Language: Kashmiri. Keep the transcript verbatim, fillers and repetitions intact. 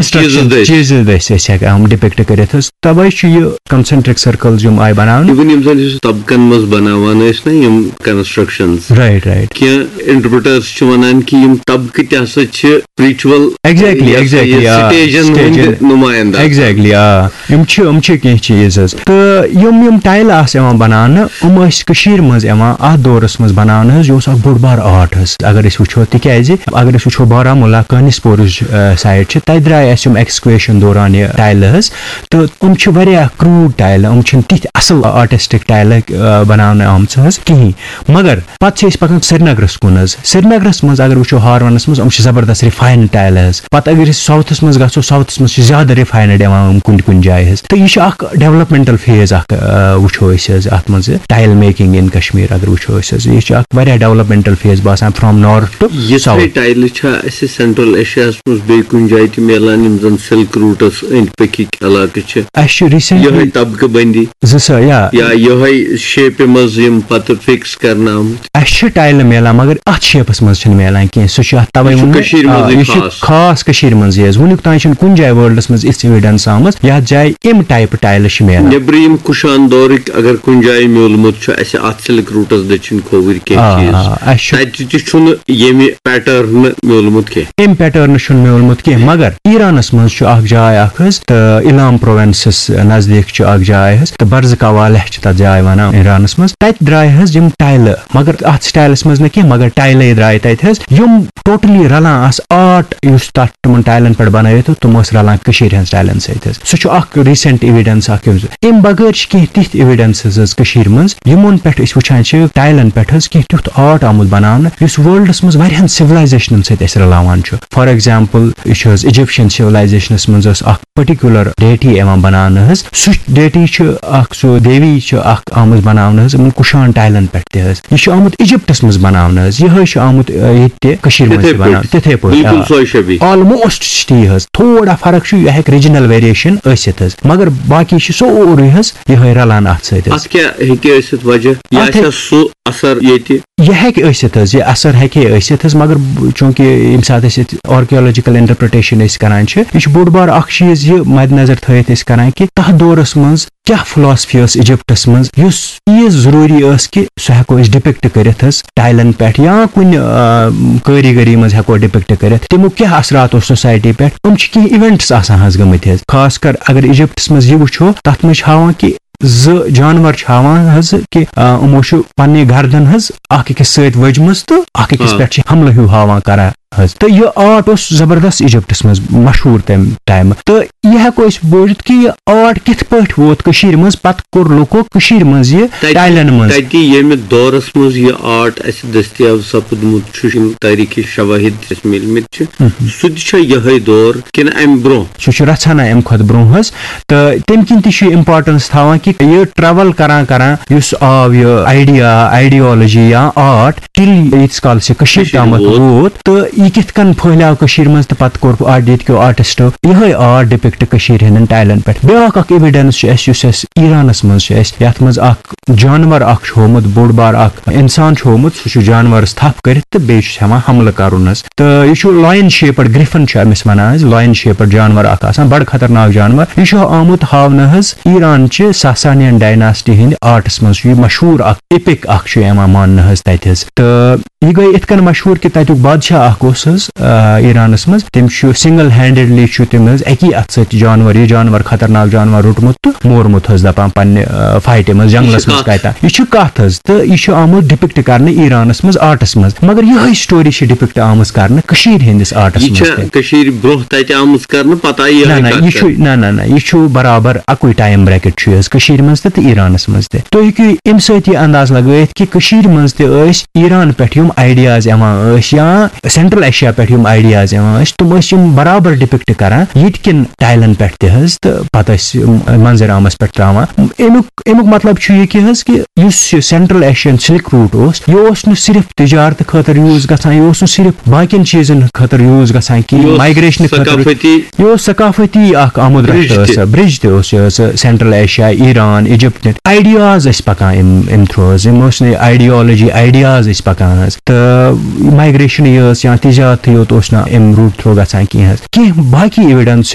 چیٖزَس دٔسۍ۔ چیٖزَس دٔسۍ أسۍ ہٮ۪کان یِم ڈِپِکٹ کٔرِتھ حظ۔ تَوَے چھُ یہِ کَنسَنٹرِک سٔرکٕلز یِم آیہِ بَناونہٕ۔ Even یِم زَن یُس طبقَن منٛز بَناوان ٲسۍ نا یِم کَنسٹرٛکشَنٕز، رایٹ، رایٹ۔ کینٛہہ اِنٹَرپرٛیٹٲرٕز چھِ وَنان کہِ یِم طبقہٕ تہِ ہسا چھِ spiritual، exactly، یہِ ہسا یہِ exactly، آ، سٹیجَن ہٕنٛدۍ سٹیجَن۔ نُمٲیِنٛدٕ۔ Exactly، آ۔ یِم چھِ، یِم چھِ کینٛہہ چیٖز حظ۔ تہٕ یِم، یِم ٹایلہٕ آسہٕ یِوان بَناونہٕ، یِم ٲسۍ کٔشیٖرِ منٛز یِوان اَتھ دورَس منٛز بَناونہٕ حظ۔ یہِ اوس اَکھ بوٚڑ بار آرٹ حظ، اگر أسۍ وٕچھو، تِکیٛازِ اگر أسۍ وٕچھو بارہمولہ کانِسپورٕچ، آ، سایڈ چھِ، تَتہِ درٛاے اَسہِ یِم ایکسکویشَن دوران یہِ ٹایلہٕ حظ۔ تہٕ یِم چھِ واریاہ کرٛوٗڈ ٹایلہٕ، یِم چھِنہٕ تِتھۍ اَصٕل آرٹِسٹِک ٹایلہٕ، آ، بَناونہٕ آمژٕ حظ کِہیٖنۍ۔ مگر پَتہٕ چھِ أسۍ پَکان سرینگرَس کُن حظ۔ سرینگرَس منٛز اگر وٕچھو ہارونَس منٛز، یِم چھِ زبردست رِفاینٕڈ ٹایلہٕ حظ۔ پَتہٕ اگر أسۍ ساوتھَس منٛز گژھو، ساوتھَس منٛز چھِ زیادٕ رِفاینٕڈ یِوان یِم کُنہِ کُنہِ جایہِ حظ۔ تہٕ یہِ چھِ اَکھ ڈیولپمنٹل فیز اَکھ، آ، وٕچھو أسۍ حظ اَتھ منٛز، ٹایِل میکِنٛگ اِن کشمیر اگر وٕچھو أسۍ حظ، یہِ چھِ اَکھ واریاہ ڈیولپمنٹل فیز باسان from north to یِژھے south۔ ٹایلہٕ چھا اَسہِ سینٹرل ایشیاہَس منٛز بیٚیہِ کُنہِ جایہِ تہِ میلان، یِم زَن سِلک روٗٹَس أنٛدۍ پٔکِکۍ علاقہٕ چھِ؟ اَسہِ چھُ ریٖسنٹلی یِہوٚے طبقہٕ بندی۔ زٕ سا-، یا۔ یا یِہوٚے شیپہِ منٛز یِم پَتہٕ فِکس کرنہٕ آمٕتۍ۔ اَسہِ چھِ ٹایلہٕ میلان، مگر اَتھ شیپَس منٛز چھِنہٕ میلان کینٛہہ۔ سُہ چھُ اَتھ تَوَے یہِ چھُ ووٚنمُت، کٔشیٖرِ آ، منٛزٕے یہِ چھُ خاص۔ خاص کٔشیٖرِ منٛزٕے حظ۔ وٕنیُک تام چھِنہٕ کُنہِ جایہِ ورلڈَس منٛز یِژھ ایویڈنس آمٕژ، یَتھ جایہِ اَمہِ ٹایپہٕ ٹایلہٕ چھِ میلان۔ نیٚبرِم کُشان دورٕکۍ اگر کُنہِ جایہِ میوٗلمُت چھُ اَسہِ اَتھ سِلک روٗٹَس دٔچھِنۍ کھووٕرۍ آ، کینٛہہ چیٖز، آ، اَسہِ چھُ تَتہِ تہِ چھُنہٕ ییٚمہِ پیٹرنہٕ میوٗلمُت کینٛہہ۔ اَمہِ پیٹرنہٕ چھُنہٕ میوٗلمُت کینٛہہ، مگر ایرانَس منٛز چھُ اَکھ جاے اَکھ حظ، تہٕ اِلام پرووینسَس نزدیٖک چھُ اَکھ جاے حظ، تہٕ برزکاوالہ چھِ تَتھ جاے وَنان ایرانَس منٛز۔ تَتہِ درٛاے حظ یِم ٹایلہٕ، مگر اَتھ سٹایلَس منٛز نہٕ کینٛہہ، مگر ٹایلَے درٛاے تَتہِ حظ، یِم ٹوٹلی رَلان آسہٕ آرٹ یُس تَتھ تِمَن ٹایلَن پٮ۪ٹھ بَنٲوِتھ اوس، تِم ٲسۍ رَلان کٔشیٖرِ ہِنٛز ٹایلَن سۭتۍ حظ۔ سُہ چھُ اَکھ ریٖسنٹ ایویڈنس اَکھ۔ اَمہِ بغٲر چھِ کینٛہہ تِتھۍ ایویڈنسز حظ کٔشیٖرِ منٛز، یِمَن پٮ۪ٹھ أسۍ وٕچھان چھِ ٹایلَن پٮ۪ٹھ حظ کینٛہہ تیُتھ آرٹ آمُت بَناونہٕ، یُس ورلڈَس منٛز واریاہَن سِولایزیشنَن سۭتۍ اَسہِ رَلاوان چھُ۔ فار ایگزامپل، یہِ چھُ حظ ایجپشن سِولایزیشنَس منٛز ٲس اَکھ پٔٹِکیوٗلَر ڈیٹی یِوان بَناونہٕ حظ۔ سُہ ڈیٹی چھُ اَکھ، سُہ دیوی چھُ اَکھ آمٕژ بَناونہٕ حظ، یِمَن کُشان ٹایلَن پٮ۪ٹھ تہِ حظ۔ یہِ چھُ آمُت ایجپٹَس منٛز بَناونہٕ حظ۔ یِہوٚے چھُ آمُت، آ، ییٚتہِ تہِ کٔشیٖرِ منٛز تِتھَے تہِ بَناونہٕ۔ پٲٹھۍ۔ تِتھَے پٲٹھۍ، بِلکُل آ۔ سۄے شبیٖہ۔ آلموسٹ چھِ تی حظ۔ تھوڑا فرق چھُ، یہِ ہٮ۪کہِ ریٖجنل ویریشن ٲسِتھ حظ۔ مگر باقی چھِ سورُے حظ یِہوٚے رَلان اَتھ سۭتۍ حظ۔ اَتھ کیٛاہ ہیٚکہِ ٲسِتھ وجہ؟ یہِ اَتھ آسہِ ہا ہیٚکہِ سُہ اثر ییٚتہِ؟ یہِ ہیٚکہِ ٲسِتھ حظ، یہِ اثر ہیٚکہِ ہے ٲسِتھ حظ، مگر چوٗنٛکہِ ییٚمہِ ساتہٕ أسۍ ییٚتہِ آرکیولوجیکل انٹرپریٹیشن أسۍ کران چھِ، یہِ چھُ بوٚڑ بار اکھ چیٖز یہِ مد نظر تھٲیِتھ أسۍ کران کہِ تَتھ دورس منٛز کیٛاہ فلاسفی ٲس ایجپٹس منٛز، یُس چیٖز ضروٗری ٲس کہِ سُہ ہٮ۪کو أسۍ ڈپکٹ کٔرِتھ حظ ٹایلن پٮ۪ٹھ یا کُنہِ، آ، کٲریٖگٔری منٛز ہٮ۪کو ڈپکٹ کٔرِتھ، تمیُک کیٛاہ اثرات اوس سوسایٹی پٮ۪ٹھ۔ یِم چھِ کینٛہہ ایونٹس آسان حظ گٔمٕتۍ حظ، خاص کر اگر ایجپٹس منٛز یہِ وٕچھو، تتھ منٛز چھِ ہاوان کہِ زٕ جانور چھِ ہاوان حظ کہِ، آ، یِمو چھُ پننہِ گردن حظ اکھ أکِس سۭتۍ ؤجمٕژ تہٕ اکھ أکِس آ۔ پٮ۪ٹھ چھِ حملہٕ ہیوٗ ہاوان کران حظ۔ تہٕ یہِ آرٹ اوس زبردست ایجپٹس منٛز مشہوٗر تمہِ ٹایمہٕ۔ تہٕ یہِ ہٮ۪کو أسۍ بوٗزِتھ کہِ یہِ آرٹ کِتھ پٲٹھۍ ووت کٔشیٖرِ منٛز، پتہٕ کوٚر لُکو کٔشیٖرِ منٛز یہِ تَتہِ، ٹایلن منٛز۔ تَتہِ ییٚمہِ دورس منٛز یہِ آرٹ اَسہِ دٔستیاب سپُدمُت چھُ، یِم تٲریٖخی شوٲہِد اَسہِ میٖلمٕتۍ چھِ، مہم۔ سُہ تہِ چھا یِہوٚے دور کِنہٕ اَمہِ برٛونٛہہ؟ سُہ چھُ رژھانہ اَمہِ کھۄتہٕ برٛونٛہہ حظ، تہٕ تَمہِ کِنۍ تہِ چھُ یہِ امپارٹنس تھاوان کہِ یہِ ٹریول کران کران یُس آو یہِ آیڈیا، آیڈیالوجی یا آرٹ، تیٚلہِ ییٖتِس کالس یہِ کٔشیٖرِ کٔشیٖرِ تامَتھ ووت۔ ووت تہٕ یہِ کِتھ کٔنۍ پھٔہلیو کٔشیٖرِ منٛز تہٕ پتہٕ کوٚر آرٹ ییٚتہِ کیو آرٹسٹو یِہوٚے آرٹ ڈپکٹ کٔشیٖرِ ہٕنٛدٮ۪ن ٹایلن پٮ۪ٹھ۔ بیٛاکھ اکھ ایویڈنس چھُ اَسہِ، یُس اَسہِ ایرانس منٛز چھُ اَسہِ، یَتھ منٛز اکھ جانور اکھ چھُ ہومُت، بوٚڑ بار اکھ انسان چھُ ہومُت، سُہ چھُ جانورس تھپھ کٔرِتھ تہٕ بیٚیہِ چھُس ہٮ۪وان حملہٕ کرُن حظ۔ تہٕ یہِ چھُ لایِن شیپڈ گرفن چھُ أمِس وَنان حظ، لایِن شیپڈ جانور اکھ آسان، بڑٕ خطرناک جانور۔ یہِ چھُ آمُت ہاونہٕ حظ ایران چہِ ساسانین ڈایناسٹی ہٕنٛدِ آرٹس منٛز چھُ یہِ مشہوٗر اکھ ایپک اکھ چھُ یِوان ماننہٕ حظ تَتہِ حظ۔ تہٕ یہِ گٔے یِتھ کٔنۍ مشہوٗر کہِ تَتیُک بادشاہ اکھ اوس حظ، آ، ایرانس منٛز، تٔمۍ چھُ سنگل ہینڈڈلی چھُ تٔمۍ حظ اَکی اَتھٕ سۭتۍ جانور، یہِ جانور خطرناک جانور روٚٹمُت تہٕ مورمُت حظ، دَپان پننہِ، آ، فایٹہِ منٛز، یہِ چھِ جنگلس منٛز کتھ۔ کتہِ۔ یہِ چھُ کتھ حظ، تہٕ یہِ چھُ آمُت ڈپکٹ کرنہٕ ایرانس منٛز آرٹس منٛز، مگر یِہوٚے سٹوری چھِ ڈپکٹ آمٕژ کرنہٕ کٔشیٖرِ ہٕنٛدِس آرٹس یہِ منٛز چھا تہِ۔ کٔشیٖرِ برٛونٛہہ تتہِ آمٕژ کرنہٕ، پتہٕ آیہِ نہ، یِہوٚے نہ، کتھ یہِ چھُ، کرنہٕ؟ نہ، نہ، نہ، یہِ چھُ برابر اَکُے ٹایم بریکٹ چھُ یہِ حظ کٔشیٖرِ منٛز تہِ تہٕ ایرانس منٛز تہِ۔ تُہۍ ہیٚکِو اَمہِ سۭتۍ یہِ انداز لگٲیِتھ کہِ کٔشیٖرِ منٛز تہِ ٲسۍ ایران پٮ۪ٹھ یِم آیڈیاز یِوان ٲسۍ یا سینٹرل ایشیا پٮ۪ٹھ یِم آیڈیاز یِوان ٲسۍ، تِم ٲسۍ یِم برابر ڈپکٹ کران ییٚتہِ کٮ۪ن ٹایلن پٮ۪ٹھ تہِ حظ، تہٕ پتہٕ ٲسۍ یِم منظر عامس پٮ۪ٹھ تراوان۔ اَمیُک، اَمیُک مطلب چھُ یہِ کہِ حظ کہِ یُس یہِ سینٹرل ایشین سلک روٗٹ اوس، یہِ اوس نہٕ صرف تجارت خٲطرٕ یوٗز گژھان، یہِ اوس نہٕ صرف باقین چیٖزن خٲطرٕ یوٗز گژھان کہِ یہِ اوس مایگریشن خٲطرٕ۔ ثقافتی یہِ اوس ثقافتی اکھ آمُد برج رشتہٕ تہِ۔ ٲس، برج تہِ اوس یہِ حظ، central Asia, Iran, Egypt. Ideas ٲسۍ پکان امہِ، امہِ تھرو حظ، یِم ٲسۍ نہٕ آیڈیالوجی، آیڈیاز ٲسۍ پکان حظ۔ تہٕ مایگریشن یہِ ٲس یا تجارتٕے یوت اوس نہٕ امہِ روٗٹ تھرٛوٗ گژھان کینٛہہ حظ۔ کینٛہہ باقٕے ایویڈنس